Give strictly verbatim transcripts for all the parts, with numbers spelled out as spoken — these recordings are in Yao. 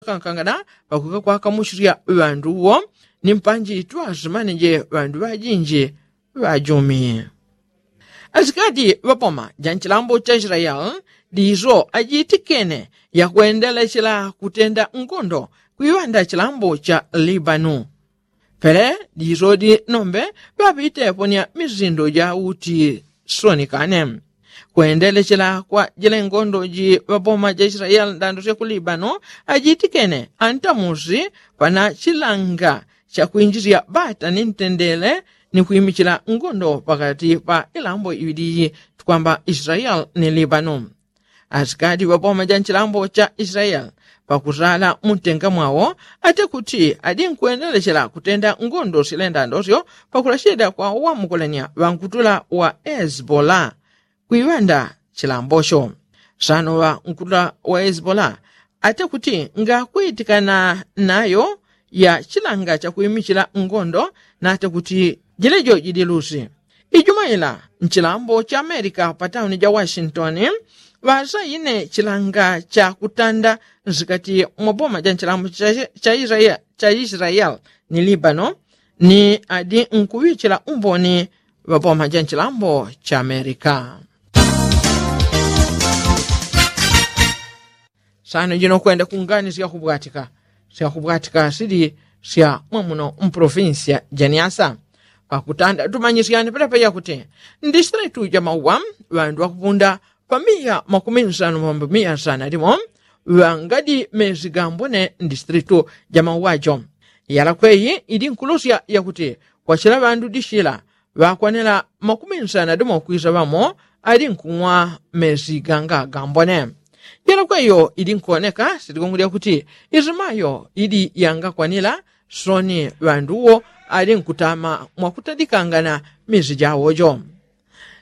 kankangana pakukakwaka muchilya ŵandu uwo ni mpanji twazimaneje ŵandu ŵajinji ŵajumi. Asikati ŵapoma ja nchilambo cha israeli ndizo ajitikene yakwendelechela kutenda ngondo kwiŵanda chilambo cha libanu. Pele ndizo ndi nombe ŵapitepo ni mizindo ja uti sonikane kwendelechela kwa jile ngondo ji ŵapoma ja israeli ndando sya ku libanu ajitikene antamusi pana chilanga chakwinjisya ŵata ni ntendele ni kwimichila ngondo pakati pa ilambo iŵili iyi tukwamba israeli ni libanu. Asikati ŵapoma ja nchilambo cha israeli pakusala muntenga mwawo ate kuti adi nkwendelechela kutenda ngondo silendandosyo pakulachita kwa wamukolanya ŵankutula wa hezbola kwiŵanda chilambocho. Sano ŵankutula wa hezbola ate kuti ngakwitikana nayo ya chilanga chakwimichila ngondo nate kuti jilejo jili lusi. Ijuma ila nchilambo cha amerika pa tauni ja washington ŵasaine chilanga cha kutanda nsikati mwa boma ja nchilambo cha israeli ni libano ni adi nkuŵichila umboni ŵapoma ja nchilambo cha amerika. Sano jino kwenda kungani syakubwatika syakubwatika sili sya mwamuno mpolofinsi ya janiasa. Pakutanda tumanyisyani pelepe yakuti ndistritu ja mauwa ŵandu ŵakupunda pa miya makumi nsanu mambo miya sana limo ŵangadi mezi gambone ndistritu ja mauwa jo. Yalakweyi ili nkulusya yakuti kwachila ŵandu dishila ŵakwanela makumi nsana dimo kwisa ŵamo ali nkung'wa mezi ganga gambone. Yelokweyo ili nkuoneka siligongolya kuti isimayo ili yangakwanila soni ŵandu uwo ali nkutama mwakutadikangana mezi jawo jo.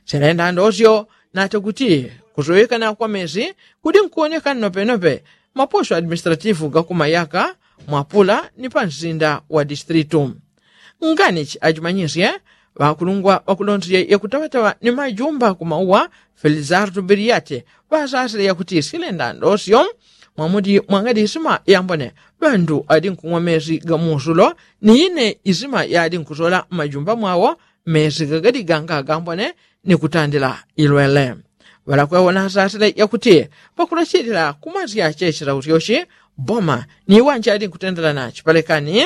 Silenda ndosyo nate kuti kusoyekana kwa mezi kudi nkuoneka nnopenope maposo administratifu gakumayaka mwapula ni pansinda wa distritu. Nganichi ajimanyisye ŵakulungwa ŵakulonzya yakutawatawa ni majumba kumauwa felizardo biriate ŵasasile yakuti silenda ndosyo mwamudi mwangadi isima yambone ŵandu adi nkung'wa mezi gamusulo ni ine isima yadi nkusola mmajumba mwawo mezi gagadi ganga gambone ni kutandila ilwele. Ŵalakwewo nasasile yakuti pakulachilila kumasya chechila usyoshi boma ni iwanje ali nkutendelana chipalekani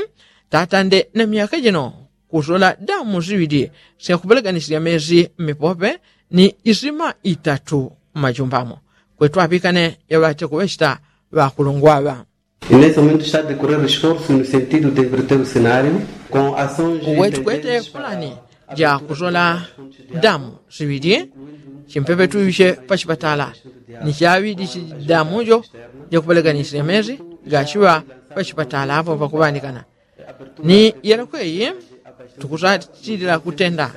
tatande na myaka jino kusola damu siŵili syakupeleganisya mezi mmipope ni isima itatu mmajumbamo. Kwetu aŵikane yaŵate kuŵechita ŵakulungwaŵa. Inese mumentu sitadi kulela esforsu no sentidu de inverter o senario. Wetu kwete fulani ja kusola damu siŵili chimpepe tuŵiche pachipatala ni chaŵili chidamu jo jakupeleganisya mezi gachiŵa pachipatala apo pakuŵandikana. Ni yelokweyi tukusachilila kutenda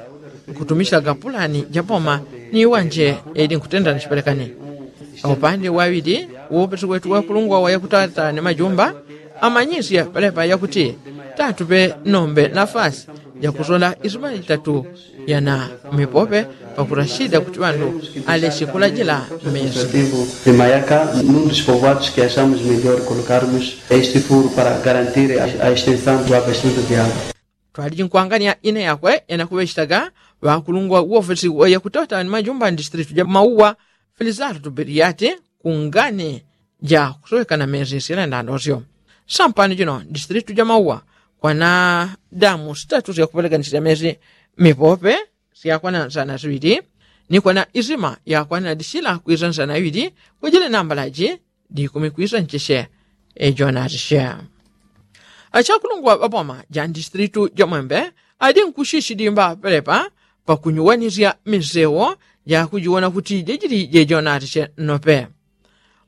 nkutumisila gapulani japoma ni iwanje yaili nkutenda ni chipelekani. Aupande waŵili uwopesi wetu wakulungwa wayakutata ni majumba amanyisye palepa yakuti tatupe nombe nafasi jakusola isuma itatu yana mipope pakurashida kuti ŵandu aleche kulajila mezi. Mayaka nundu chipovoatu chikiashamu chimediori kolokarmus este furu para garantir a extensamu dua bastante diago. Twaliji nkwangania ine yakwe ena kuŵechitaga ŵakulungwa wofesi wayakutawatani majumba ndistritu ja mauwa felizardo beriate kungani ja kusowekana mezi silendandosyo. Sampano jino ndistritu ja mauwa kwana damu sitatu syakupeleganisila mezi mipope syakwana nsana siŵili ni kwana isima yakwana disila kwisa nsana iŵili kwajile nambalaji dikumi kwisa ncheche. Ejonati she achakulungwa ŵapoma ja ndistritu ja mwembe adi nkushishi dimba pelepa pakunyuwanisya misewo jakujiwona kuti jejili jejonati she nnope.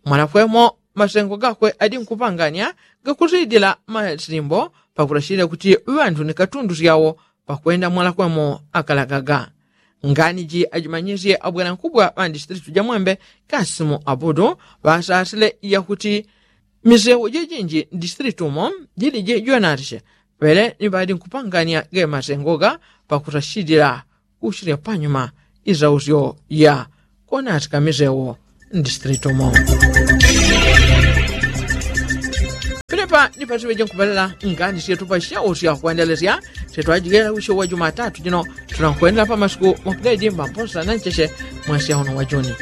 Mwalakwemo masengo gakwe adi nkupangania gakusidila masimbo pakulashilila kuti ŵandu ni katundu syawo pakwenda mwalakwemo akalagaga. Ngani ji ajimanyisye abwelankubwa ŵa ndistritu ja mwembe kasimu abudu ŵasasile yakuti misewo jejinji ndistritu mo jili jejonati she pele ni ŵadi nkupangania ge masengo ga pakusashilila kushilya panyuma isausyo ya konatika misewo ndistritu mo. Epa ni pasiŵeje nkupalela ngani syetu pasyawo sya kwendelesya. Syetwajigela wisyo wa jumatatu jino tunakwendela pa masiku mapwedimba mposa na ncheche mwasya uno wa juni.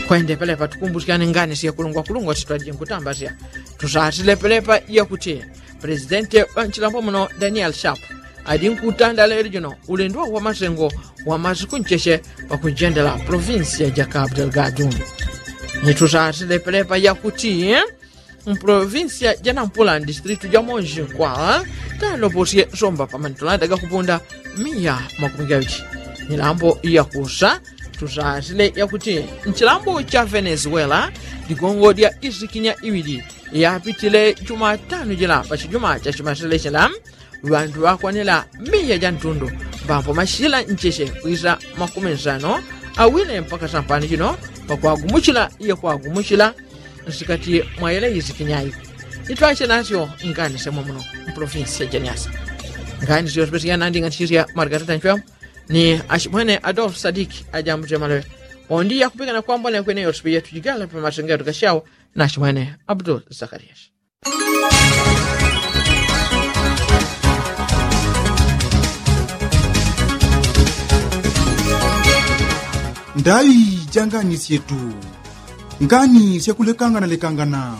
Kwendepelepa tukumbusyane ngani syekulungwakulungwa syetwajinkutambasyana. Tusasile pelepa yakuti pelesidenti wa nchilambo muno daniel shapu ali nkutanda lelo jino ulendo wa masengo wa masiku ncheche pakunjendela provinsi ya jakabu delgadu. Nitusasile pelepa yakuti mprovinsi ya janampula ndistritu ja monji nkwa taloposye somba pamanitulanda gakupunda miya makumi gawili. Milambo yakusa tusasile yakuti nchilambo cha venezuela ligongo lya isikinya iwili yapitile jumatanu jila pachijuma cha chimasile chila ŵantu ŵakwanila miya ja ntundu mbambo mashila ncheche kwisa makumi nsano awile mpaka sampani chino pakwagumuchila iye kwagumuchila nsikati mwa yele isikinya iko. Itwache nasyo ngani semwa muno mpolofinsi ya janiasa. Ngani syo sipesiya nandi ngati sisya margarita nchwemo ni ashimwene adolfu sadiki ajambuche malowe. Pondi yakupikana kwambona kweneyo sipiya tujigala pa masengeto kasyawo na ashimwene abdul zakarias. Ndaŵi ja ngani syetu. Ngani syakulekangana lekangana.